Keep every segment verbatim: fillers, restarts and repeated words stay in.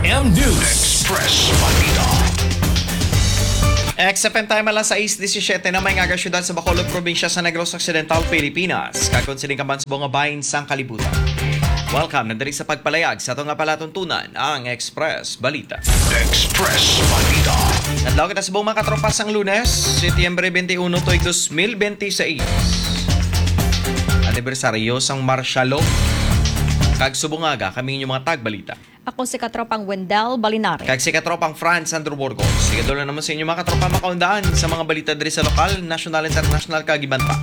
M News Express Balita. X F M time alas sais disisiete na, may ngaga siyudad sa Bacolod, probinsya sa Negros Occidental, Pilipinas. Kag kon sining ka man subong nga bahin sang kalibutan. Welcome na diri sa pagpalayag sa ato nga palatuntunan, ang Express Balita. Express Balita. Adlaw kita subong, mga katropa, sang Lunes, Setyembre twenty-one, tuig dos mil benti seis. Anibersaryo sang martial law. Kag subong nga aga, kami inyong mga tagbalita. Ako si katropang Wendell Balinares. Kag si katropang Franz Andrew Burgos. Sige, dulo naman sa inyo, mga katropa, makaundaan sa mga balita diri sa lokal, nasyonal, internasyonal, kag iban pa.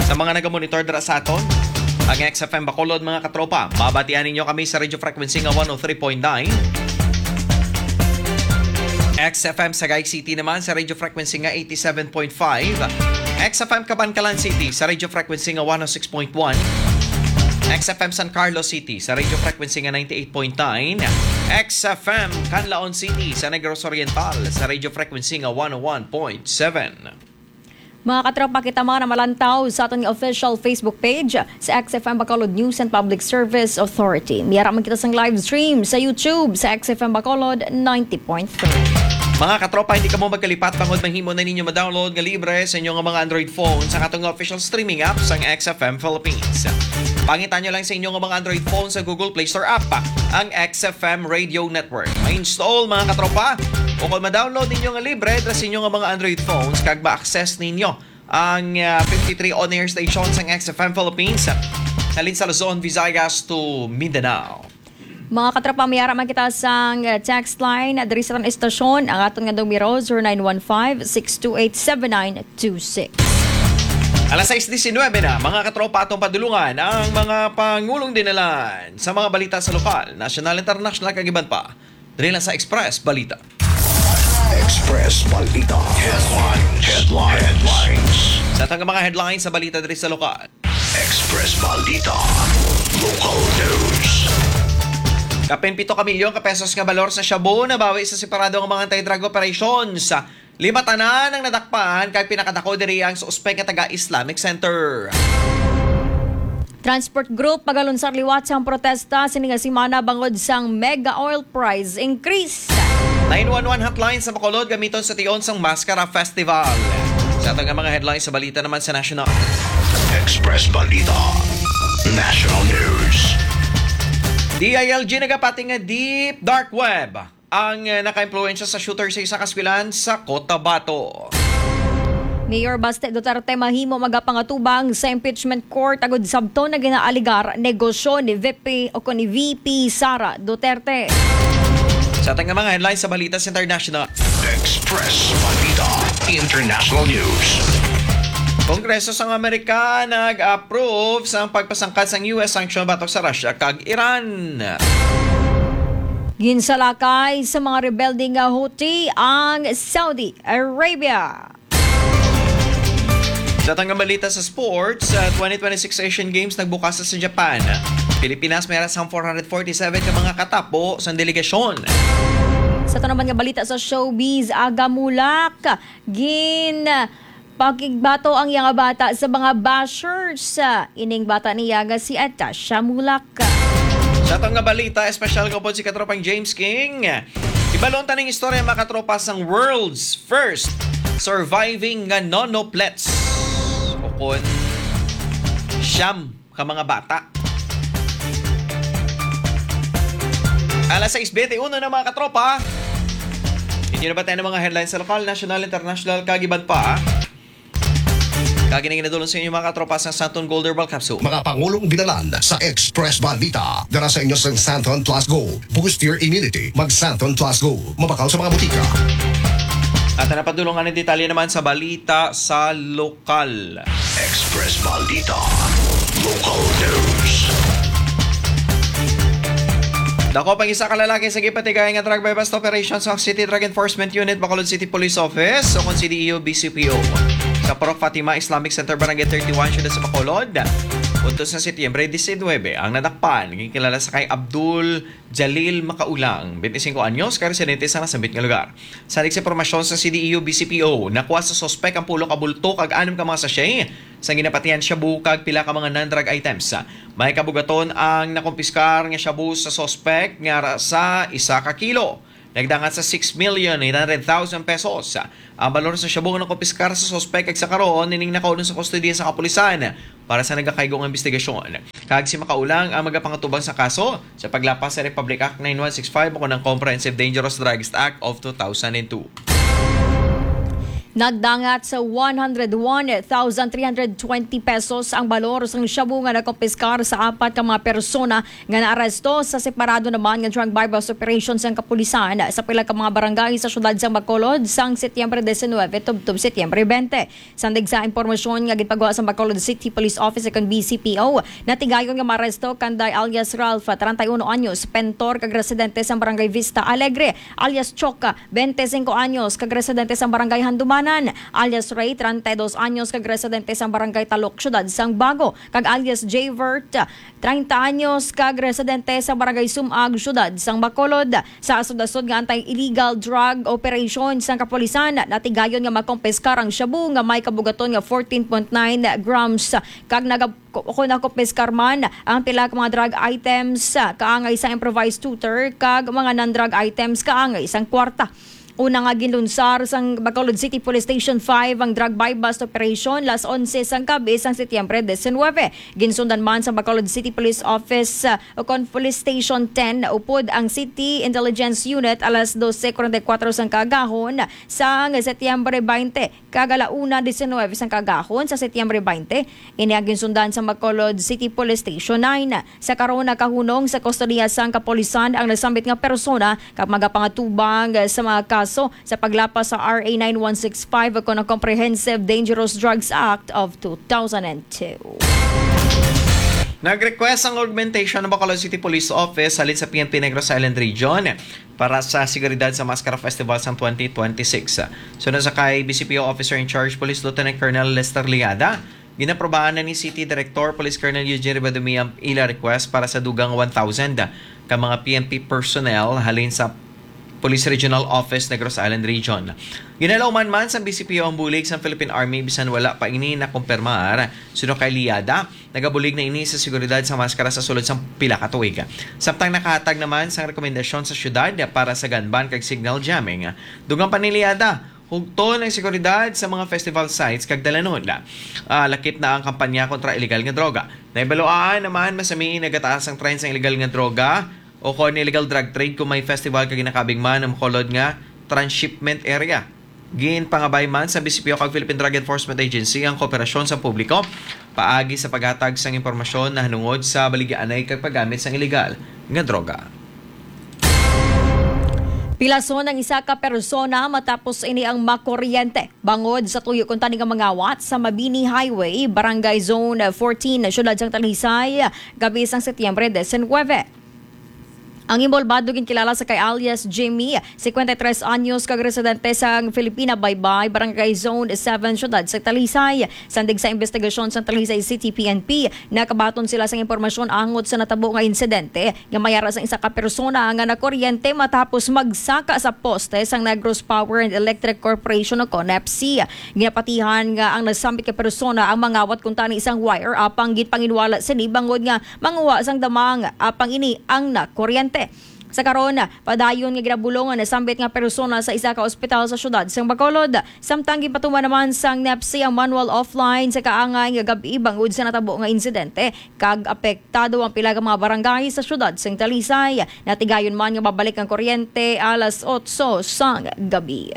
Sa mga nagamonitor dira sa aton, ang X F M Bacolod, mga katropa, mabatian ninyo kami sa radio frequency nga one oh three point nine. X F M Sagay City naman sa radio frequency nga eighty-seven point five. X F M Kabankalan City sa radio frequency nga one oh six point one. X F M San Carlos City sa radio frequency nga ninety-eight point nine. X F M Canlaon City sa Negros Oriental sa radio frequency nga one oh one point seven. Mga katropa, kita mga namalantaw sa aton nga official Facebook page sa X F M Bacolod News and Public Service Authority. May ara man kita sang live stream sa YouTube sa X F M Bacolod ninety point three. Mga katropa, hindi kamo magkalipat bangod mahimo na ninyo ma-download nga libre sa inyo nga mga Android phones ang atong official streaming app sang X F M Philippines. Pangita nyo lang sa inyo nga mga Android phones sa Google Play Store app ang X F M Radio Network. Ma-install, mga katropa, o kung ma-download ninyo nga libre dira sa inyo nga mga Android phones, kag ma-access ninyo ang, ah, fifty-three on-air stations sang X F M Philippines, halin sa Luzon, Visayas to Mindanao. Mga katropa, may ara man kita sang, ah, text line diri sa aton istasyon. Ang aton nga numero, zero nine one five, six two eight, seven nine two six. Alas sais diecinuebe na, mga katropa, atong padulungan ang mga pangulong dinalan sa mga balita sa lokal, nasyonal, internasyonal, kag iban pa. Diri lang sa Express Balita. Express Balita. Headlines. Headlines. Headlines. Sa aton nga mga headlines sa balita diri sa lokal. Express Balita. Local news. Kapin pito ka milyon ka pesos nga balor sa shabu nabawi sa separado nga mga anti-drug operations. Lima tanan ang nadakpan, kag pinakadako diri ang suspek nga taga Islamic Center. Transport Group magalunsad liwat sang protesta sini nga semana bangod sang mega oil price increase. Nine one one hotline sa Bacolod gamiton sa tion sang Mascara Festival. Sa aton nga mga headlines sa balita naman sa national. Express Balita. National News. D I L G nagapati nga deep dark web ang, eh, nakaimpluwensya sa shooter sa isa ka eskwelahan sa Cotabato. Mayor Baste Duterte mahimo magapangatubang sa impeachment court agud sabton nga ginaaligar negosyo ni V P o kon ni V P Sara Duterte. Sa aton nga mga headlines sa balita sa international. Express Balita International News. Kongreso sang Amerika nag-approve sang pagpasangkad sang U S sanction batok sa Russia kag Iran. Ginsalakay sa mga rebelde nga Houthi ang Saudi Arabia. Sa aton nga balita sa sports, sa twenty twenty-six Asian Games nagbukas sa Japan. Pilipinas may ara sang four hundred forty-seven ka mga katapo sang delegasyon. Sa aton naman nga balita sa showbiz, Aga Mulak, gin pakigbato ang iya nga bata sa mga bashers. Ining bata niya nga si Atasha Mulak. Sa aton nga balita, espesyal ko po si katropang James King. Ibalon ta ning istorya, mga katropa, sang world's first surviving nga nonoplets. O kon siyam ka mga bata. Alas sais benti uno na, mga katropa. Inyo na ba tayo ng mga headlines sa lokal, national, international, kag iban pa? Kag ini ginadulong sa inyo, mga katropa, sa Santon Gold Herbal Capsule. Mga pangulong binalan sa Express Balita. Dara sa inyo sa Santon Plus Gold. Boost your immunity. Mag Santon Plus Gold. Mabakal sa mga butika. At napadulungan ang detalye naman sa balita sa lokal. Express Balita. Local News. Dako pang isa ka lalaki sa gipatigay nga drug buy-bust operation sa City Drug Enforcement Unit, Bacolod City Police Office, o kon C D E O B C P O, sa Purok Fatima Islamic Center, Barangay thirty-one, Siyudad sa Bacolod. Udto sa Setyembre diecinuebe, ang nadakpan ginkilala sa kay Abdul Jalil Makaulang, twenty-cinco anyos, ka residente sa nasambit nga lugar. Salig sa impormasyon sa C D E U B C P O, nakuha sa suspek ang pulo ka bulto kag anom ka mga sachet sa ginapatihan shabu kag pila ka mga non-drug items. May kabugaton ang nakumpiskar nga shabu sa suspek nga ra-, sa isa ka kilo nagdangat sa six million eight hundred thousand pesos. Ang balor sa shabu nga nakumpiskar sa suspek kag sa karon ining nakaulong sa kustodiya sa kapulisan para sa nagakaigo nga investigasyon. Kag si Makaulang ang magapangatubang sa kaso sa paglapas sa Republic Act nine one six five o ang Comprehensive Dangerous Drugs Act of two thousand and two. Nagdangat sa one hundred one thousand three hundred twenty pesos ang balor sang shabu nga nakumpiskar sa apat ka mga persona nga naaresto sa separado naman nga drug buy-bust operation sang kapulisan sa pila ka mga barangay sa siyudad sang Bacolod sang Setyembre diecinuebe tubtob Setyembre twenty. Sandig sa impormasyon nga ginpagwa sa Bacolod City Police Office kon B C P O, natigayon nga maaresto Kanday alias Ralph, treinta y uno anyos, pentor kag residente sa Barangay Vista Alegre, alias Choka, twenty-cinco anyos, kag residente sa Barangay Handumanan, alias Ray, treinta y dos anyos, kag residente sa Barangay Talok, Siyudad sang Bago, kag alias Javert, treinta anyos, kag residente sa Barangay Sumag, Siyudad sang Bacolod. Sa asod-asod nga anti-illegal drug operation sang kapulisan, natigayon nga makompiskar ang shabu nga may kabugaton nga fourteen point nine grams, kag naga-, ko-, kon nakompiskar man ang pila ka mga drug items, kaangay sa improvised tutor, kag mga non-drug items kaangay sang kwarta. Una nga ginlunsar sang Bacolod City Police Station five ang drug buy-bust operation las onse sang gabi sang Setyembre diecinuebe. Ginsundan man sa Bacolod City Police Office, uh, o kon Police Station ten upod ang City Intelligence Unit alas dose cuarenta y cuatro sang kaagahon sang Setyembre twenty kag ala una diecinuebe sang kaagahon sa Setyembre twenty. Ini ang ginsundan sa Bacolod City Police Station nine. Sa karon, nakahunong sa kustodiya sang kapulisan ang nasambit nga persona kag magapangatubang sa mga kaso sa paglapas sa R A nine one six five o kon ang Comprehensive Dangerous Drugs Act of two thousand and two. Nag-request ang augmentation ng Bacolod City Police Office halin sa P N P Negros Island Region para sa seguridad sa Maskara Festival sang twenty twenty-six. Suno sa kay B C P O Officer in Charge Police Lieutenant Colonel Lester Liada, ginaprobahan na ni City Director Police Colonel Eugene Rivadumia ang ila request para sa dugang one thousand ka mga P N P personnel halin sa Police Regional Office Negros Island Region. Ginalauman man sang B C P O ang bulig sang Philippine Army bisan wala pa ini nakumpirmar. Suno kay Liada, nagabulig na ini sa seguridad sa Maskara sa sulod sang pila ka tuig. Samtang nakahatag naman sang rekomendasyon sa syudad para sa gun ban kag signal jamming. Dugang pa ni Liada, hugton ang seguridad sa mga festival sites kag dalanhon. Ah, lakip na ang kampanya kontra illegal nga droga. Nahibaluan naman, masami nagataas ang trend sang illegal nga droga o kon illegal drug trade kung may festival kag ginakabig man ang makulod nga transshipment area. Ginpangabay man sa B C P O kag Philippine Drug Enforcement Agency ang kooperasyon sa publiko paagi sa paghatag sang impormasyon nahanungod sa baligyaanay kag paggamit sang illegal nga droga. Pilason ang isa ka persona matapos ini ang makuryente bangod sa tuyo kuntani nga mangawat sa Mabini Highway, Barangay Zone fourteen, siyudad sang Talisay, gabi sang Setyembre diecinuebe. Ang inbolbado ginkilala sa kay alias Jimmy, cincuenta y tres anyos, kag residente sa Filipina Baybay, Barangay Zone seven, siyudad sa Talisay. Sandig sa investigasyon sa Talisay City P N P, nakabaton sila sang impormasyon angot sa natabo nga insidente nga may ara sang isa ka persona nga nakuryente matapos magsaka sa poste sang Negros Power and Electric Corporation o kon NEPC. Ginapatihan nga ang nasambit ka persona ang mangawat kuntani sang wire apang ginpanginwala sini bangod nga manguha sang damang apang ini ang nakuryente. Sa karon, padayon nga ginabulong ang nasambit nga persona sa isa ka ospital sa siyudad sang Bacolod, samtang ginpatuman naman sang NEPC ang manual offline sa kaangay nga gab-i bangod sa natabo nga insidente, kag apektado ang pila ka mga barangay sa siyudad sang Talisay. Natigayon man nga mabalik ang kuryente alas otso sang gabi.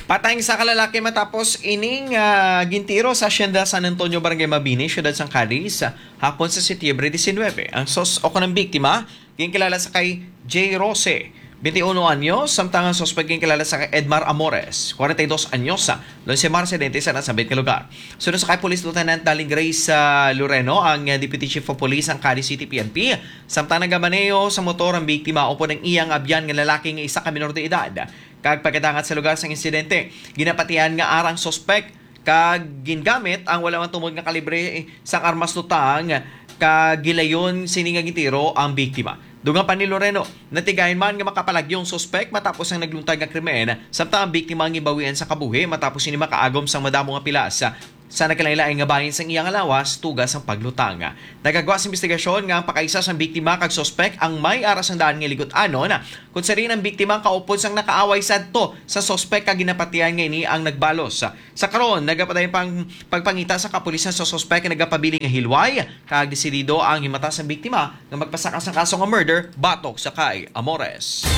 Patay ang isa ka lalaki matapos ining, ah, gintiro sa Hacienda San Antonio, Barangay Mabini, siyudad sang Cadiz, hapon sa Setyembre diecinuebe. Ang sos-, o kon ang biktima, ginkilala sa kay J Rose, twenty-uno anyos, samtang ang suspek ginkilala sa kay Edmar Amores, kwarenta y dos anyos, ah, Lunsema, residente sa nasambit nga lugar. Suno sa kay Police Lieutenant Darling Grace, ah, Loreno, ang, ah, Deputy Chief of Police sang Cadiz City P N P, samtang nagamaneho sa motor ang biktima upod ang iyang abyan nga lalaki nga isa ka menor de edad. Kag pagkadangat sa lugar sang insidente, ginapatihan nga ara ang suspek kag gingamit ang wala man tumod nga kalibre sang armas lutang, kag gilayon sini nga gintiro ang biktima. Dugang pa ni Loreno, natigayon man nga makapalagyo ang suspek matapos ang nagluntad nga krimen, samtang ang biktima ang ginbawian sa kabuhi matapos sini makaagom sang madamo nga pilas sa nagkalainlain nga bahin sang iyang lawas tuga sang paglutang. Nagagwa sa investigasyon nga ang pakaisa sang biktima kag suspek ang may ara sang daan nga ligut-anon, kun sa diin ang biktima ang kaupod sang nakaaway sadto sa suspek kag ginapatihan nga ini ang nagbalos. Sa karon, nagapadayon pang pagpangita sa kapulisan sa suspek nga nagapabilin nga hilway, kag desidido ang himata sang biktima nga magpasaka sang kaso nga murder batok sa kay Amores.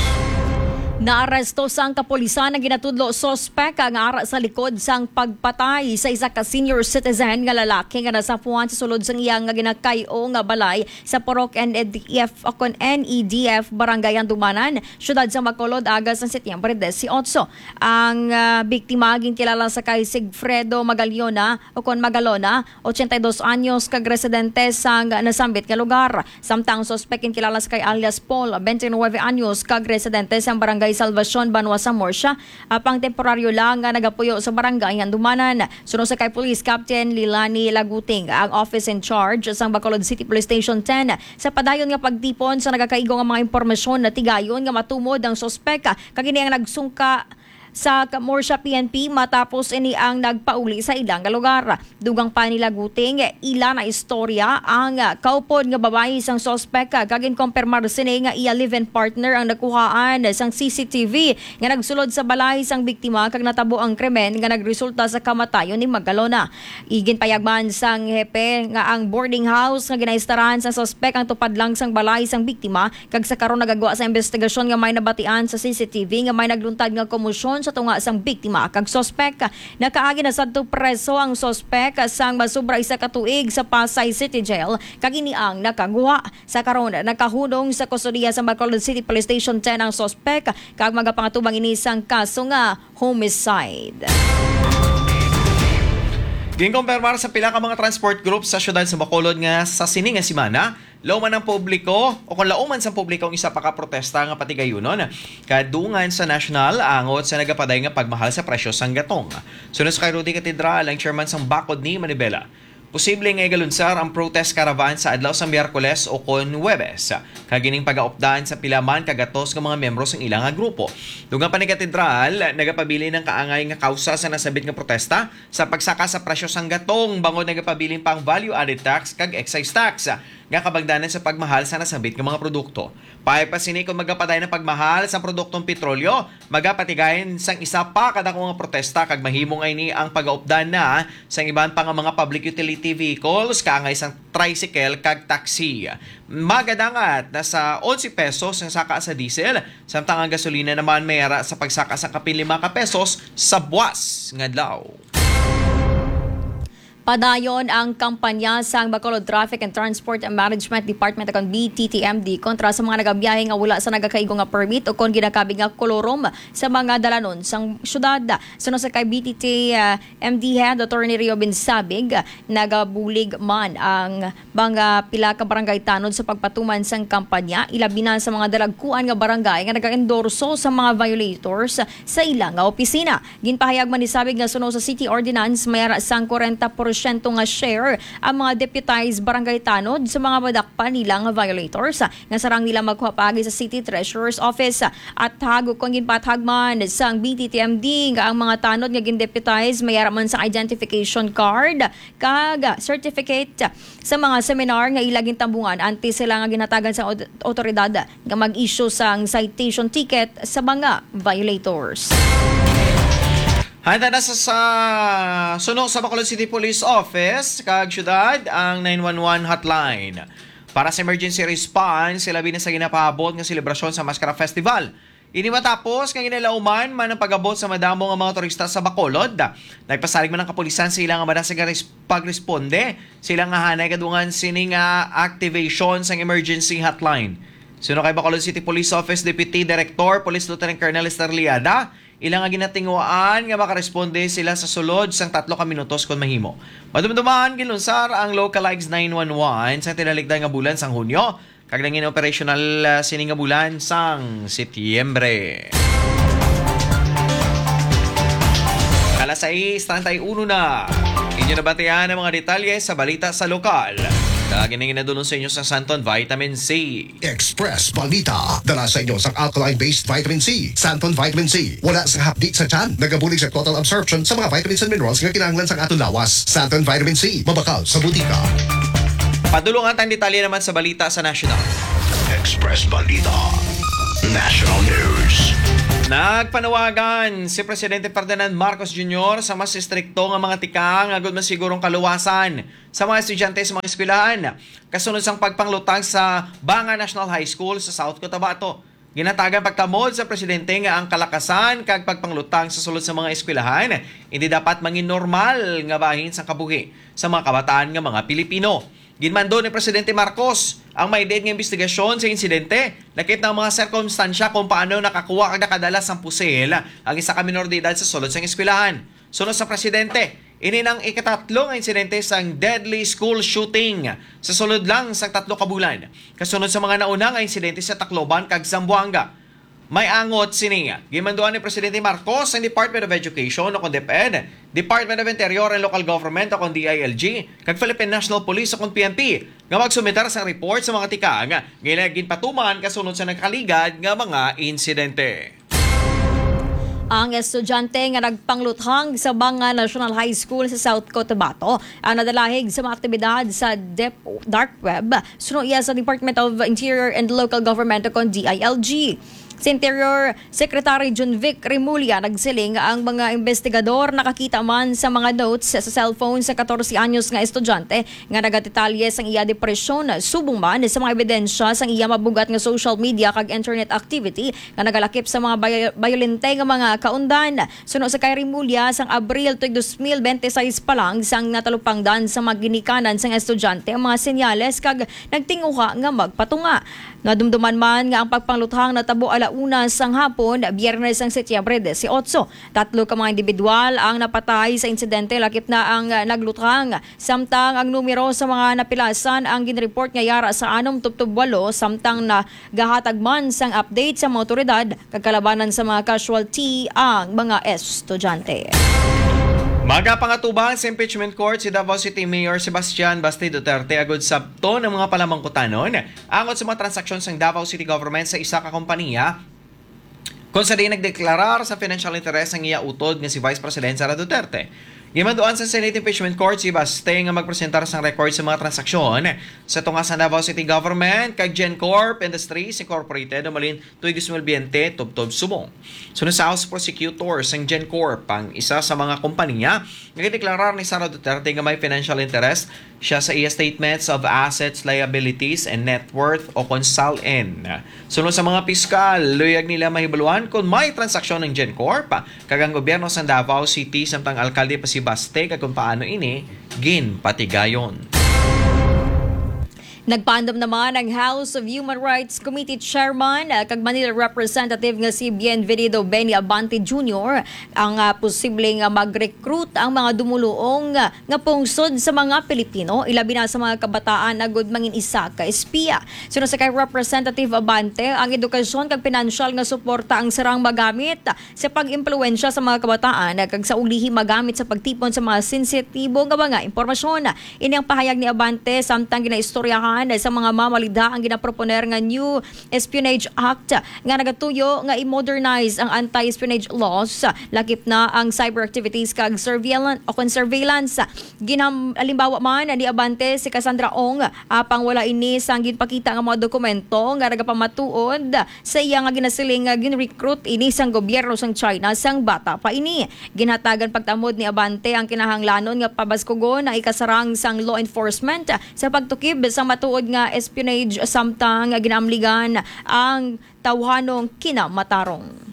Naaresto sang kapulisan ang ginatudlo suspek nga ara sa likod sang pagpatay sa isa ka senior citizen nga lalaki nga nasapuan sa sulod sang iya nga ginakay-o nga balay sa Purok N E D F o kon N E D F, Barangay Handumanan, Siyudad sa Bacolod, aga sang Setyembre dieciocho. Ang, ah, biktima ginkilala sa kay Sigfredo Magaliona o kon Magalona, ochenta y dos anyos, kag residente sang nasambit nga lugar. Samtang ang suspek ginkilala sa kay alias Paul, twenty-nueve anyos, kag residente sang Barangay Salvacion, Banwa sa Murcia, apang temporaryo lang nga nagapuyo sa Barangay Handumanan. Suno sa kay Police Captain Lilani Laguting, ang office in charge sang Bacolod City Police Station ten, sa padayon nga pagtipon sa nagakaigo nga mga impormasyon, natigayon nga matumod ang suspek, kag ini ang nagsungka sa Murcia P N P matapos ini ang nagpauli sa ila nga lugar. Dugang pa ni Laguting, ila na istorya ang kaupod nga babayi sang suspek, kag ginkumpirmar sini nga iya live-in partner ang nakuhaan sang C C T V nga nagsulod sa balay sang biktima kag natabo ang krimen nga nagresulta sa kamatayon ni Magalona. Iginpayag man sang hepe nga ang boarding house nga ginaistaran sang suspek ang tupad lang sang balay sang biktima, kag sa karon nagagwa sa investigasyon nga may nabatian sa C C T V nga may nagluntad nga komosyon sa tunga sang biktima kag suspek. Nakaagi na sadto preso ang suspek sang masubra isa ka tuig sa Pasay City Jail, kag ini ang nakaguha. Sa karon, nakahunong sa kustodiya sa Bacolod City Police Station ten ang suspek, kag magapangatubang ini sang kaso nga homicide. Ginkumpirmar sa pila ka mga transport group sa siyudad sa Bacolod nga sa sini nga semana, lauman ang publiko o kon lauman sa publiko ang isa pa ka protesta nga patigayunon kadungan sa national angot sa nagapaday nga pagmahal sa presyo sang gatong. Suno sa kay Rudy Catedral, ang chairman sang Bakod ni Manibela, posible nga igalunsar ang protest caravan sa adlaw sa Miyerkules o kon Huwebes, kag ining pagaupdan sa pila man ka gatos nga mga miyembro sang ila nga grupo. Dugang pa ni Katedral, nagapabilin ang kaangay nga kausa sa nasabit nga protesta sa pagsaka sa presyo sang gatong, bangod nagapabilin pa ang value-added tax kag excise tax nga kabangdanan sa pagmahal sa nasabit nga mga produkto. Pahay pa sini, kon magapadayon ang pagmahal sa produktong petrolyo, magapatigayon sang isa pa ka dako nga protesta, kag mahimo nga ini ang pagaupdan na sang iban pa nga mga public utility vehicles, kaangay sang tricycle kag taxi. Magadangat na sa onse pesos ang saka sa diesel, samtang ang gasolina naman may ara sa pagsaka sa kapin lima ka pesos sa buas nga adlaw. Padayon ang kampanya sang Bacolod Traffic and Transport Management Department, o kon B T T M D, kontra sa mga nagabiyahe nga wala sa nagakaigo nga permit o kon ginakabig nga kolorum sa mga dalanon sang syudad. Suno sa kay B T T, ah, M D Head Attorney Rio Binsabig, nagabulig man ang mga pila ka barangay tanod sa pagpatuman sang kampanya, ilabi na sa mga dalagkuan nga barangay nga nagaendorso sa mga violators sa ila nga opisina. Ginpahayag man ni Sabig nga suno sa city ordinance, may ara sang kwarenta porsyento nga share ang mga deputized barangay tanod sa mga madakpan nila nga violators, nga sarang nila makuha paagi sa City Treasurer's Office. At hagok kon ginpatag man sang B T T M D nga ang mga tanod nga gindeputize may ara man sa identification card kag certificate sa mga seminar nga ila gintambungan antes sila nga ginhatagan sa od-, otoridad nga mag-issue sang citation ticket sa mga violators. Handa na sa, sa suno sa Bacolod City Police Office kag syudad ang nine one one hotline. Para sa emergency response, ilabi na sa ginapaabot nga selebrasyon sa Maskara Festival. Ini matapos nga ginalauman man ang pag-abot sa madamo nga mga turista sa Bacolod. Nagpasalig man ang kapulisan sa ila nga madasig nga res-, pagresponde sa ila nga hanay kadungan sini nga activation sang emergency hotline. Suno kay Bacolod City Police Office Deputy Director Police Lieutenant Colonel Lester Liada, ila nga ginatinguhaan nga makaresponde sila sa sulod sang tatlo ka minutos kon mahimo. Madumduman, gilunsar ang localized nine one one sa tinalikdan nga bulan sang Hunyo, kag nangin operational, ah, sini nga bulan sang Setyembre. Alas sais treinta y uno na. Inyo nabatian ang mga detalye sa balita sa lokal. Kag ining nadulong sa inyo sa Santon Vitamin C. Express Balita, dala sa inyo sang alkaline-based vitamin C, Santon Vitamin C. Wala sang hapdi sa tiyan, nagabulig sa total absorption sa mga vitamins and minerals nga kinahanglan sang aton lawas. Santon Vitamin C, mabakal sa butika. Padulong ang detalye naman sa balita sa national. Express Balita National News. Nagpanawagan si Presidente Ferdinand Marcos Junior sa mas estrikto nga mga tikang agud masigurong kaluwasan sa mga estudyante sa mga eskwelahan, kasunod sang pagpanglutang sa Banga National High School sa South Cotabato. Ginhatagan pagtamod sa presidente nga ang kalakasan kag pagpanglutang sa sulod sa mga eskwelahan hindi dapat mangin normal nga bahin sang kabuhi sa mga kabataan nga mga Pilipino. Ginmando ni Presidente Marcos ang may diin nga imbestigasyon sa insidente, lakip na ang mga sirkumstansya kung paano nakakuha kag nakadala sang pusil ang isa ka minor de edad sa sulod sang eskwelahan. Suno sa presidente, ini nang ikatatlo nga insidente sang deadly school shooting sa sulod lang sang tatlo ka bulan, kasunod sa mga nauna nga insidente sa Tacloban kag Zamboanga. May angot sini. Ginmanduan ni Presidente Marcos ang Department of Education o kon DepEd, Department of Interior and Local Government o kon D I L G, kag Philippine National Police o kon P N P nga magsumitar sang report sa mga tikang nga ila ginpatuman kasunod sa nagkaligad nga mga insidente. Ang estudyante nga nagpangluthang sa Banga National High School sa South Cotabato ang nadalahig sa mga aktibidad sa dep- dark web, suno iya sa Department of Interior and Local Government o kon D I L G. Si Interior Secretary Junvic Remulla nagsiling nga ang mga investigador nakakita man sa mga notes sa cellphone sa katorse anyos nga estudyante nga nagadetalye sang iya depresyon, subong man sa mga ebidensya sang iya mabugat nga social media kag internet activity nga nagalakip sa mga bay-, bayolente nga mga kaundan. Suno sa kay Remulla, sang Abril tuig dos mil bente seis pa lang, sang natalupangdan sa mga ginikanan sang estudyante ang mga senyales kag nagtinguha nga magpatunga. Nadumduman man nga ang pagpangluthang natabo ala una sang hapon, Biyernes ang Setyembre dieciocho. Tatlo ka mga individual ang napatay sa insidente, lakip na ang, ah, nagluthang, samtang ang numero sa mga napilasan ang ginreport nga yara sa anom tubtob walo, samtang nagahatag man sang update sa mga awtoridad kag kalabanan sa mga casualty ang mga estudyante. Magapangatubang sa impeachment court si Davao City Mayor Sebastian Baste Duterte agud sabton ang mga palamangkutanon angot sa mga transaksyon sang Davao City Government sa isa ka kompanya, kon sa diin nagdeklarar sa financial interest ang iya utod nga si Vice President Sara Duterte. Gimanduan sa Senate Impeachment Court si Baste nga magpresentar sang record sa mga transaksyon sa tunga sa Davao City Government kag GenCorp Industries Incorporated, Umalin, tuig dos mil biyente, tubtob subong. Suno sa House Prosecutor sang GenCorp, ang isa sa mga kompanya nga gideklarar ni Sara Duterte nga may financial interest siya sa iya Statements of Assets, Liabilities, and Net Worth o kon SALN. Suno sa mga piskal, luyag nila mahibaluan kon may transaksyon ang GenCorp kag ang gobyerno sa Davao City samtang alkalde pa si Baste kag kon paano ini ginpatigayon. Nagpaandam naman ang House of Human Rights Committee Chairman, ah, kag Manila Representative nga si Bienvenido Benny Abante Junior ang, ah, posibleng, ah, mag-recruit ang mga dumuluong, ah, nga pungsod sa mga Pilipino, ilabi na sa mga kabataan, agud mangin isa ka espiya. Suno sa kay Representative Abante, ang edukasyon kag pinansyal nga suporta ang sarang magamit sa pag-impluwensya sa mga kabataan kag sa ulihi magamit sa pagtipon sa mga sensitibo nga mga impormasyon. Ini ang pahayag ni Abante samtang ginaistoryahan sa mga mamalidha ang ginaproponer nga New Espionage Act nga nagatuyo nga i-modernize ang anti-espionage laws, lakip na ang cyber activities kag surveillance o kon surveillance. Ginam-, halimbawa man ni Abante si Cassandra Ong, apang wala ini sang ginpakita nga mga dokumento nga nagapamatuod sa iya nga ginasiling nga gin-recruit ini sang gobyerno sang China sang bata pa ini. Ginhatagan pagtamod ni Abante ang kinahanglanon nga pabaskugon ang ikasarang sang law enforcement sa pagtukib sa matuod nga espionage samtang ginaamligan ang tawhanong kinamatarong.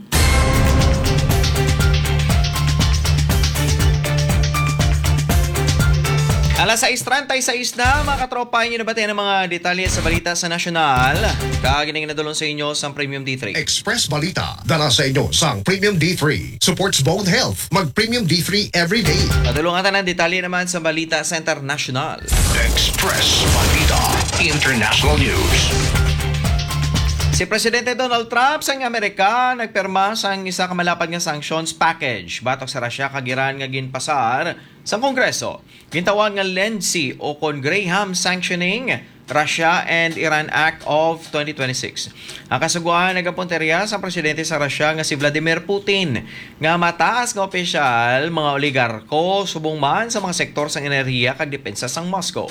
Alas sais treinta y seis na, mga katropa, inyo nabatian ang mga detalye sa balita sa nasyonal. Kag ining nadulong sa inyo sang Premium D three. Express Balita, dala sa inyo sang Premium D three. Supports bone health. Mag Premium D three every day. Padulong ang tanan detalye naman sa balita sa international. Express Balita International News. Si Presidente Donald Trump sang Amerika nagpirma sang isa ka malapad nga sanctions package batok sa Russia kag Iran nga ginpasar sang Kongreso. Gintawag nga Lency o kon Graham Sanctioning Russia and Iran Act of twenty twenty-six. Ang kasugoan nagapunterya sang presidente sa Russia nga si Vladimir Putin nga mataas nga opisyal, mga oligarko, subong man sa mga sektor sang enerhiya kag depensa sang Moscow.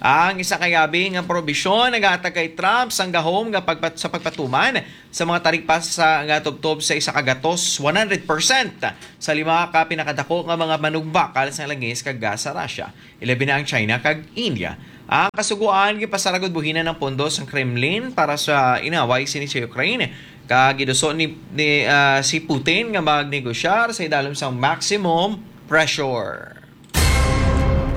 Ang isa ka yabi nga probisyon nagahatag kay Trump sang gahom nga pagpat-, sa pagpatuman sa mga taripasa nga tubtob sa isa ka gatos, one hundred percent, sa lima ka pinakadako nga mga manugbakal sa langis kag gas sa Russia, ilabi na ang China kag India. Ang kasugoan gipasaragod buhinan ang pondo sang Kremlin para sa inaway sini sa Ukraine, kag giduso ni, ni, ah, si Putin nga magnegosyar sa idalom sang maximum pressure.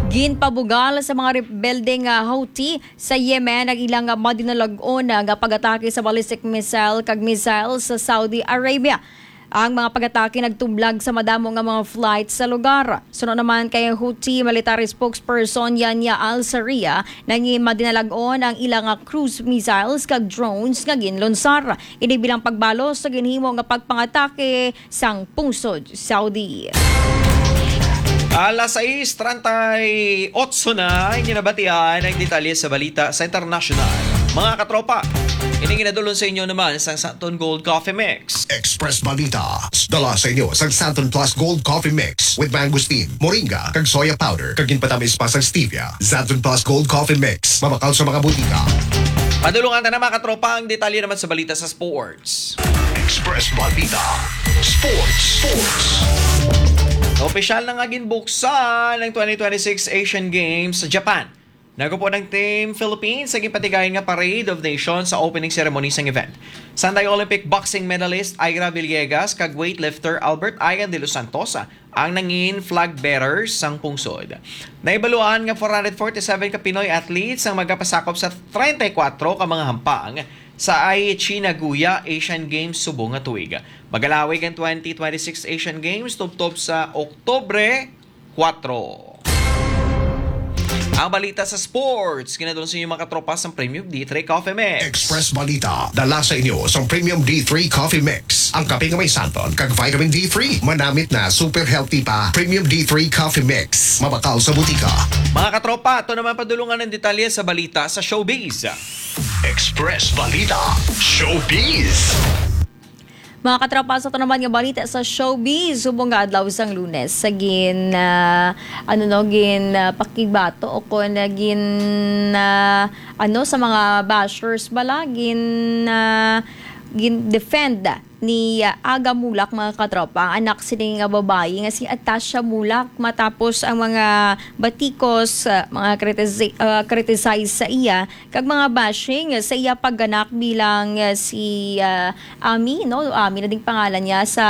Ginpabugal sa mga rebelde nga Houthi sa Yemen ang ilang madinalag-on nga pag-atake sa ballistic missile kag missile sa Saudi Arabia. Ang mga pag-atake nagtublag sa madamo nga mga flight sa lugar. Suno naman kay Houthi military spokesperson Yahya Al-Sarria, nangi madinalag-on ang ilang cruise missiles kag drones nga ginlunsar. Ini bilang pagbalos sa ginhimo nga pagpangatake sang pungsod Saudi. Alas sais treinta y ocho na, inyo nabatian ang detalye sa balita sa international. Mga katropa, ini ginadulon sa inyo naman sang Santon Gold Coffee Mix. Express Balita, dala sa inyo sang Santon Plus Gold Coffee Mix with mangosteen, moringa, kag soya powder, kag ginpatamis pa sang stevia. Santon Plus Gold Coffee Mix, mabakal sa mga butika. Padulungan ta na, mga katropa, ang detalye naman sa balita sa sport. Express Balita Sports. Sports. Opisyal na nga ginbuksan ang twenty twenty-six Asian Games sa Japan. Nagupod ang Team Philippines sa ginpatigayon nga Parade of Nations sa opening ceremony sang event. Sanday Olympic boxing medalist Ira Villegas kag weightlifter Albert Ian de los Santos ang nangin flag bearers sang pungsod. Naibaluan nga four hundred forty-seven ka Pinoy athletes ang magapasakop sa treinta y cuatro ka mga hampang sa Aichi Nagoya Asian Games subong nga tuig. Magalawig ang twenty twenty-six Asian Games tubtob sa Oktubre kuwatro. Ang balita sa sports, ginadulong sa inyo, mga katropa, sang Premium D three Coffee Mix. Express Balita, dala sa inyo sang Premium D three Coffee Mix. Ang kape nga may santon kag vitamin D three. Manamit na, super healthy pa. Premium D three Coffee Mix. Mabakal sa butika. Mga katropa, ato naman padulungan ang detalye sa balita sa showbiz. Express Balita Showbiz. Mga katropa, sa ato naman nga balita sa showbiz, subong nga adlaw sang Lunes, sa gin, ah, ano, no, gin, ah, pakibato o kon, ah, gin, ah, ano, sa mga bashers bala, gin, ah, gin defend ni, ah, Aga Mulak, mga katropa, ang anak sini nga babayi nga si Atasha Mulak, matapos ang mga batikos, ah, mga critisi-, ah, criticize sa iya kag mga bashing sa iya pagganak bilang, ah, si, ah, Ami, no? Ami na ding pangalan niya sa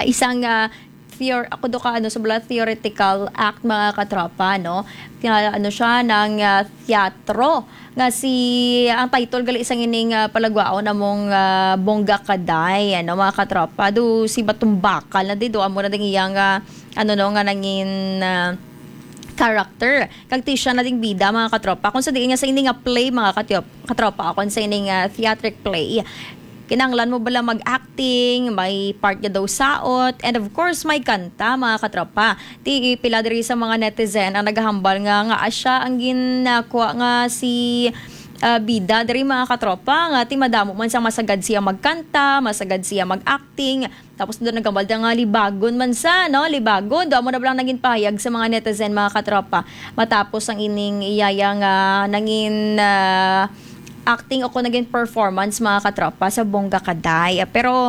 isang, ah, theor-, ako do ka, ano, sa bala, theoretical act, mga katropa, no? Kaya, ano siya, ng, ah, teatro nga si, ang title gali sang ining, ah, palagwaon namong, ah, Bongga Kaday, ano, mga katropa. Do si Batumbakal na di do, amo na ding iyang, ah, ano, no, nga nangin, ah, character. Kag ti siya na ding bida, mga katropa. Kung sa diin nga sa ini nga play, mga katyo-, katropa, kung sa ini nga theatric play, kinahanglan mo bala mag-acting, may part nga daw saot, and of course, may kanta, mga katropa. Ti pila diri sa mga netizen ang nagahambal nga, nga asya ang ginakwa nga si, ah, bida diri, mga katropa, nga ti madamo man sang masagad siya magkanta, masagad siya mag-acting, tapos doon nagambal nga libagon man sa, no? Libagon. Doon mo na lang naging pahayag sa mga netizen, mga katropa. Matapos ang ining iyaya nga nangin, ah, acting o kung naging performance, mga katropa, sa Bongga Kaday. Pero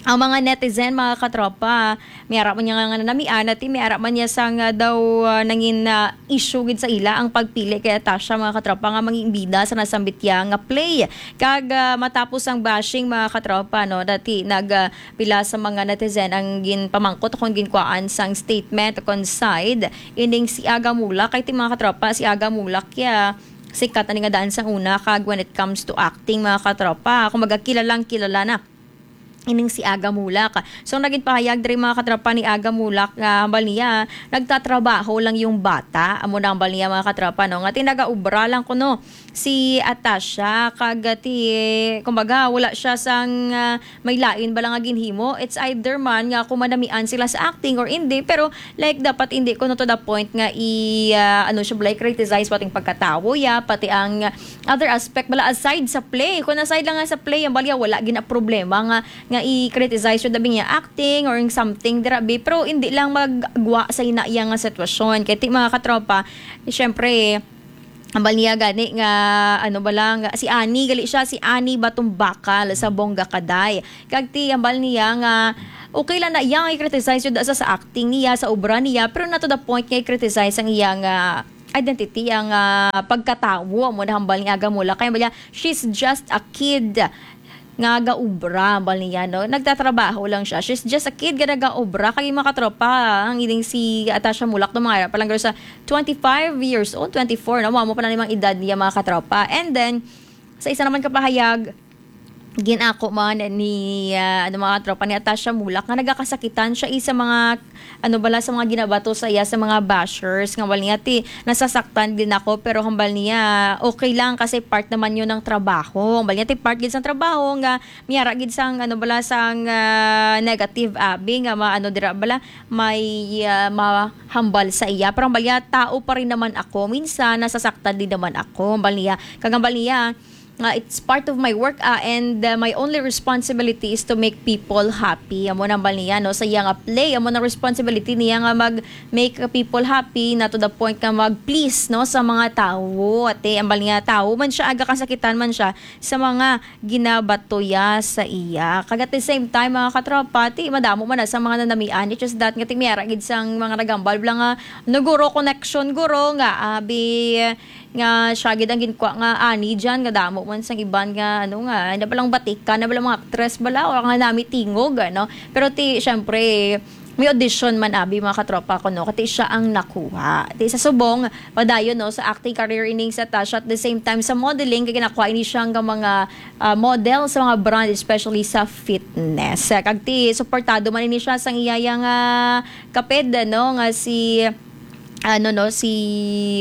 ang mga netizen, mga katropa, may ara man niya nga nanamian, at may ara man niya sa nga daw, ah, nangin, ah, issue gid sa ila ang pagpili kay Tasha, mga katropa, nga manging bida sa nasambit niya nga play. Kag, ah, matapos ang bashing, mga katropa, no, dati nag, ah, pila sa mga netizen ang ginpamangkot kung ginkuhaan sang statement kon side ining si Aga Mulak, kay ti, mga katropa, si Aga Mulak ya sikat na ni nga daan sang una, kag when it comes to acting, mga katropa, kumbaga, kilalang kilala na ining si Aga Mulak. So, naging pahayag diri, mga katropa, ni Aga Mulak nga hambal niya, nagtatrabaho lang yung bata. Amo na hambal niya, mga katropa, no? Nga ti nagaobra lang kuno si Atasha, kag ti, kumbaga, wala siya sang, ah, may lain bala nga ginhimo. It's either man nga kung manamian sila sa acting or hindi, pero, like, dapat hindi kuno to the point nga i, ah, ano siya, like, criticize pati ang pagkatawo ya, pati ang other aspect bala aside sa play. Kung aside lang nga sa play, ang balya wala gina problema nga, nga i-criticize yung dabi niya acting or yung something dira bi. Pero hindi lang magwa sa ina iya nga sitwasyon. Kay ti, mga katropa, syempre, ang bal niya gani nga, ano ba lang, si Ani, gali siya, si Ani Batumbakal sa Bongga Kaday. Kag ti, ang bal niya nga, okay lang na iya nga i-criticize yun sa, sa acting niya, sa obra niya, pero not to the point nga i-criticize ang iya nga identity, ang, ah, pagkatawo mo na hambal ni Aga Mulak. Kaya bala, she's just a kid nga gaubra, hambal niya, no? Nagtatrabaho lang siya. She's just a kid nga nagaubra. Kag yung mga katropa, ang ining si Atasha Mulak, no, mga pa lang sa twenty-five years old, twenty-four, no? Mamo pa na limang edad niya, mga katropa. And then, sa isa naman kapahayag, ginako man ni, ah, ano, mga katropa, ni Atasha Mulak nga nagakasakitan siya, eh, sa mga, ano bala, sa mga ginabato sa iya sa mga bashers, nga wal niya ti nasasaktan din ako, pero hambal niya okay lang kasi part naman yun ng trabaho. Hambal niya ti part gid sang trabaho nga miyara gid sang, ano bala, sang, ah, negative abi nga ma-, ano dira bala, may, ah, mahambal sa iya. Pero hambal niya, tao pa rin naman ako. Minsan nasasaktan din naman ako, hambal niya. Kag hambal niya, nga it's part of my work, ah, and, uh, my only responsibility is to make people happy. Amo nang bal niya, no? Sa iya nga play, amo nang responsibility niya nga mag-make people happy, na to the point nga mag-please, no, sa mga tawo. Ate, ang bal niya, tawo man siya, aga kasakitan man siya sa mga ginabatuya sa iya. Kag at the same time, mga katropa, ti madamo man na sa mga nanamian. It's just that nga ti miyara gid sang mga nagambal bala nga, no, guro, connection, guro, nga abi, nga siya gid ang ginkwa nga ani dyan, nga damo man sang iban nga, ano nga, na balang batikan, na balang mga aktres bala, o nga nami tingog, ano. Pero ti, syempre, may audition man abi, mga katropa ko, no? Kati siya ang nakuha. Ti sa subong, padayon, no, sa acting career ining sa Tasha, at the same time sa modeling, kay nakuha ini siya nga mga, ah, model sa mga brand, especially sa fitness. Kag ti, suportado man ini siya sang iyaya nga kaped, no, nga si ano, no, si,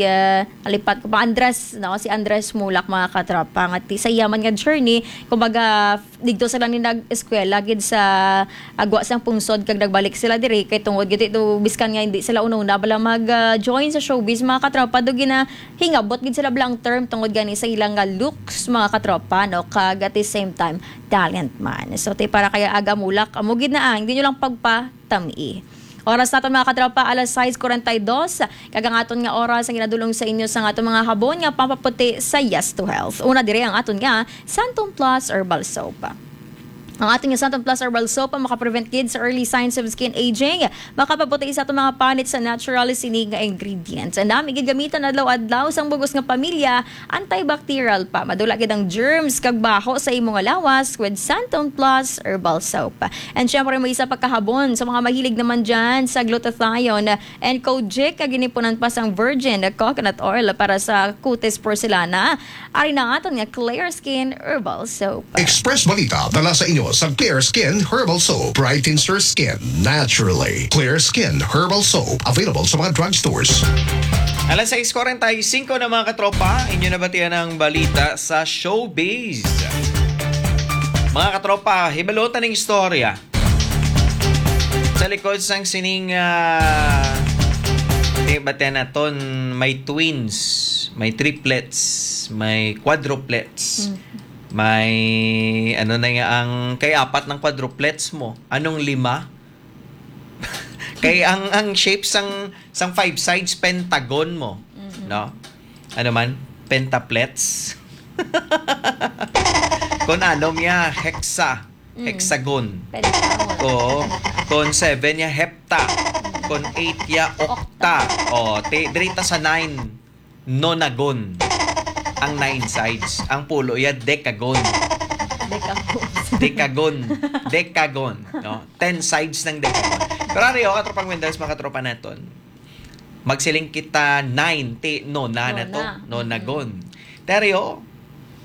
ah, nalipat ko pa, Andres, no, si Andres Mulak, mga katropa, nga ti-, sa iya man nga journey, kumbaga, f-, digto sila ni nag-eskwela gid sa agwa sang pungsod, kag nagbalik sila diri kay tungod gid ito, biskan nga hindi sila una-una bala mag, ah, join sa showbiz, mga katropa, do ginahingabot gid sila bala ang term tungod gani sa ilang nga looks, mga katropa, no, kag at the same time talent man. So ti para kay Aga Mulak, amo gid na ang, hindi nyo lang pagpatami. Oras naton, mga katropa, alas sais kuwarenta y dos. Kag ang aton nga oras ang ginadulong sa inyo sa aton mga habon nga pampaputi sa Yes to Health. Una diri ang aton nga Santon Plus Herbal Soap. Ang aton nga Santon Plus Herbal Soap ang makaprevent gid sa early signs of skin aging, makapaputi sa aton mga panit sa natural sini nga ingredients. Ang nami gid gamitan adlaw-adlaw sang bugos nga pamilya, antibacterial pa. Madula gid ang germs kag baho sa imo nga lawas with Santon Plus Herbal Soap. And syempre, may isa pa kahabon sa mga mahilig naman dyan sa glutathione and kojic, kag ginipunan pa sang virgin coconut oil para sa kutis porcelana. Ari na aton nga Clear Skin Herbal Soap. Express Balita dala sa inyo sa Clear Skin Herbal Soap. Brightens your skin naturally. Clear Skin Herbal Soap, available sa mga drugstores. Alas sais kuwarenta y singko na, mga katropa, inyo nabatian ang balita sa showbiz. Mga katropa, hibalota ning istorya. Sa likod sang sining, ah, di ba, naton, may twins, may triplets, may quadruplets, Mm. may, ano na nga, ang kay apat ng quadruplets mo. Anong lima? Kay ang, ang shape sang, sang five sides, pentagon mo. Mm-mm. No? Ano man? Pentaplets? Kung ano niya, hexa. Mm. Hexagon. Pentagon. Oo. Kon seven ya, hepta. Kon eight ya, okta. O, ti-, diri ta sa nine, nonagon. Ang nine sides. Ang pulo ya, decagon. Decagon. Decagon. Decagon. No? Ten sides ng decagon. Pero ari, o, katropang Wendels, mga katropa naton. Magsiling kita nine, ti, nona na to. Nona. Nonagon. Teryo,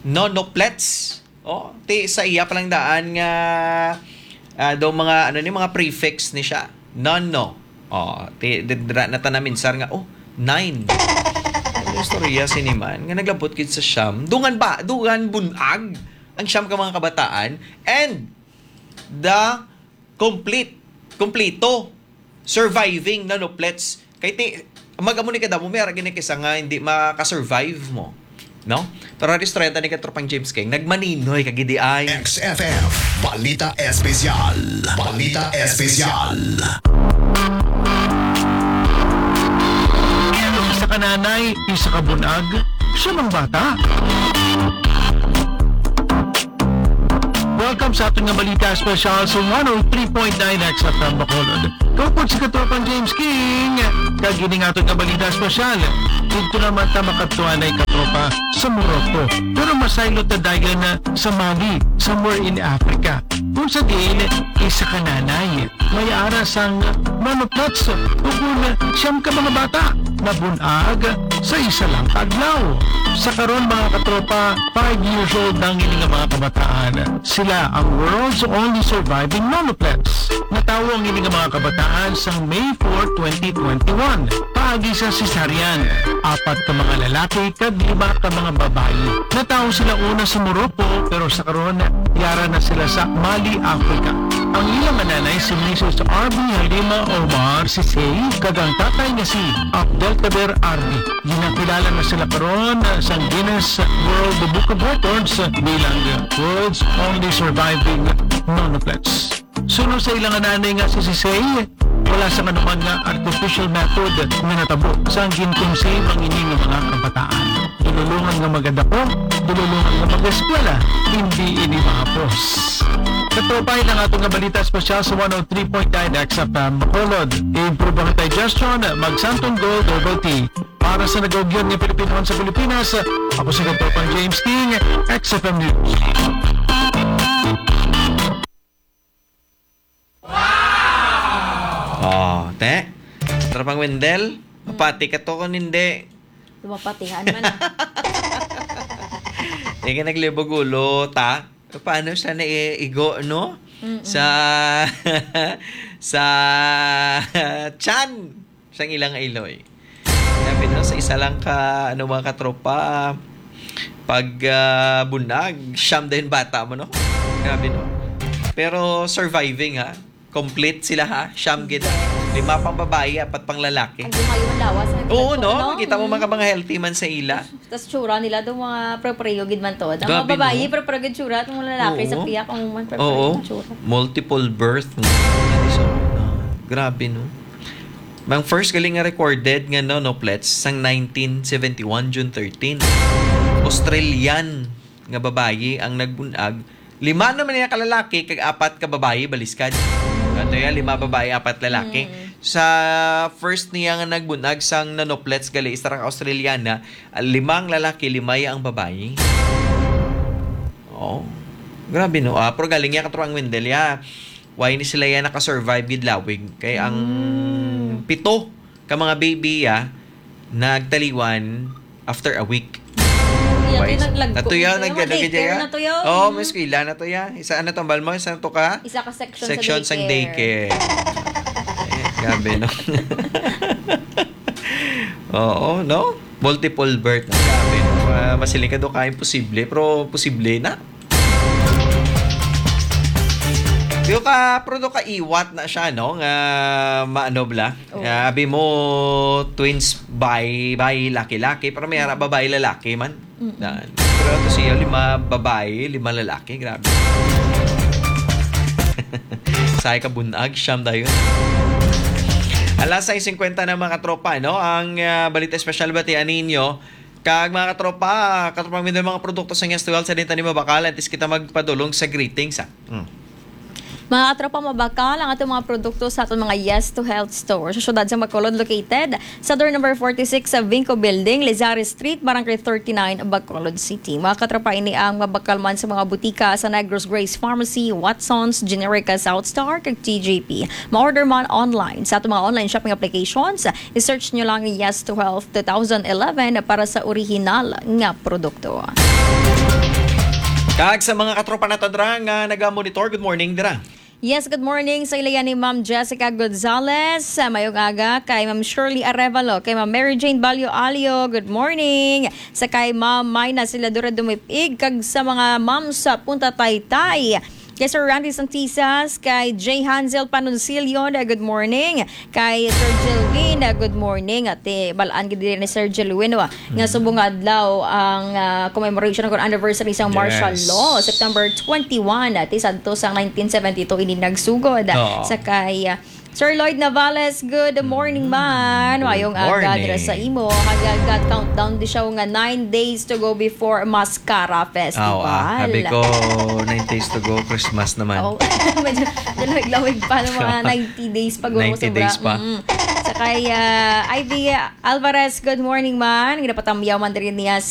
nonoplets. Oh, ti sa iya pa lang daan nga, Ah, daw mga, ano ni, mga prefix ni siya. None, no. Oh, ti-, di-, dira na ta naminsar nga, oh, nine. Ang istorya sini man, nga naglabot gid sa siyam. Dungan ba? Dungan bunag ang siyam ka mga kabataan. And the complete, kompleto, surviving nonuplets. Kay ti, mag-amo ni kadamo, may ara gini kisa nga hindi makasurvive mo. No? Pero hari istorya ta ni katropang James King. Nagmaninoy ka gid ay. X F M, Balita Espesyal. Balita Espesyal. Isa ka nanay, isa ka bunag, siya mang bata. Welcome sa aton nga balita espesyal sa one oh three point nine X F M Bacolod. Kaupod si Katropang James King, kag ini nga aton nga balita espesyal. Dito naman ta makadtuan ay katropa sa Morocco. Pero masaylo ta dayon na sa Mali, somewhere in Africa. Kung sa diin, isa ka nanay. May ara sang nonuplets, ug kun siyam ka mga bata nabun-ag sa isa lang ka adlaw. Sa karon, mga katropa, five years old na ang ini nga mga kabataan. Sila ang world's only surviving nonuplets. Natawo ang ini nga mga kabataan sang May four, twenty twenty-one, paagi sa cesarean. Apat ka mga lalaki kag lima ka mga babayi. Natawo sila una sa Morocco, pero sa karon, yara na sila sa Mali, Africa. Ang ilang nanay si Missus Arby Halima Omar Sisay, kag ang tatay nga si Abdelkader Arby. Ginakilala na sila karon sa Guinness World Book of Records bilang world's only surviving nonuplets. Suno sa ilang nanay nga si Sisay, wala sang anuman nga artificial method nga natabo sang gin-conceive ang ini nga mga kabataan. Dululungan nga magadapo, dululungan nga mag-eskwela, hindi ini mahapos. Katropa, ang aton nga balita espesyal sa one oh three point nine X F M Bacolod. Improve ang digestion, mag Santon Gold Herbal Tea. Para sa nagaugyan nga Pilipinohan sa Pilipinas, ako si Katropang James King, X F M News. Oh, te. Tropang Wendell, mapati ka to kung hindi. Lumapatihan man. Hindi ka naglibog ulo, ta? Paano siya naiigo, no? Mm-mm. Sa, sa chan. Sang ilang iloy. Grabe, no? Sa isa lang ka, ano, mga katropa, pag, ah, bunag, siyam din bata mo, no? Grabe, no? Pero surviving, ha? Complete sila, ha? Siyam gid, ha? Lima pang babayi, apat pang lalaki. Ang lumayo ang lawas, ang Oo, no? Ano? Kita mo, Mm. mga, mga healthy man sa ila. Tas tsura nila daw mga pre-pareho gid man to. Ang mga Grabe, babayi, no? pre-pareho gid tsura. Ang mga lalaki sa Oo. piyak, ang mga pre-pareho Oo. ang tsura. Multiple birth. So, ah, grabe, no? Ang first galing nga recorded nga nonuplets sang nineteen seventy-one, June thirteen. Australian nga babayi ang nagbunag. Lima naman niya ka lalaki, kag apat ka babayi, baliskad. Ato ya, lima babayi, apat lalaki. Mm. Sa first niya nga nagbunag sang nonuplets gali, isa ra ka Australiana, ah, limang lalaki, limay ang babayi. Oh, grabe, no? Ah, pero galing niya katro ang Wendell, ya. Why ni sila yan nakasurvive gid lawig? Kay ang Mm. pito ka mga baby, ya, nagtaliwan after a week. Iya, Why? Kay naglagko Ato na yan, to, nag-, daycare nag-, na to, ya. Oh, Mm. may eskwela na to, ya. Isa, ano, tambal mo? Isa to ka? Isa ka section sa Section sang daycare. daycare. Eh, grabe, no? Oo, no? Multiple birth. Grabe, no? Ah, masiling ka do ka imposible, pero posible na. Yung ka, pero do ka iwat na siya, no? Nga maano bla? Oo. Nga, abi mo, twins, bay, bay, laki-laki, pero may ara babae, lalaki man. Mm-mm. Yan. Pero ito siya, lima babae, lima lalaki. Grabe. Sa kabunag, siyam dayon. Alas sais singkwenta na, mga katropa, no? Ang, ah, balita espesyal ba ti aninyo? Kag mga katropa, katropa, may mga produkto sa Yes to Health, sa din tani mabakal, antes kita magpadulong sa greetings, ah. Mm. Mga katropa, mabakal ang atong mga produkto sa atong mga Yes to Health store sa siyudad sa Bacolod, located sa door number forty-six sa Vinco Building, Lizares Street, Barangay thirty-nine, Bacolod City. Mga katropa, ini ang mabakal man sa mga butika sa Negros Grace Pharmacy, Watson's, Generica, South Star, kag T J P. Ma-order man online sa atong mga online shopping applications. I-search nyo lang Yes to Health two thousand eleven para sa orihinal nga produkto. Kag sa mga katropa nato dira nga naga-monitor, good morning dira. Yes, good morning sa ila yan ni Ma'am Jessica Gonzalez. Sa mayong aga kay Ma'am Shirley Arevalo, kay Ma'am Mary Jane Balyo Alio, good morning. Sa kay Ma'am Mina Siladora Dumipig, kag sa mga ma'am sa Punta Taytay. Kay Sir Randy Santisas, kay J Hansel Panunsilio, na good morning. Kay Sir Jelwin, na good morning. At eh, balaan gid ni Sir Jelwin, wa, nga subong nga adlaw ang ah, commemoration or anniversary sang martial Yes. law, September twenty-one, ati sadto sang nineteen seventy-two ini nagsugod. Oo. Sa kay ah, Sir Lloyd Navales, good morning man. Good Mayong aga morning. dira sa imo. Hagagad countdown di siya nga nine days to go before Mascara Festival. Aw, ah, sabi ko, nine days to go, Christmas naman. Oh, medyo, medyo lawig-lawig pa ng mga ninety days pa, guro, ninety sobra. days pa. Mm. Sa kay ah, Ivy Alvarez, good morning man. Ginapatamyaw man diri niya si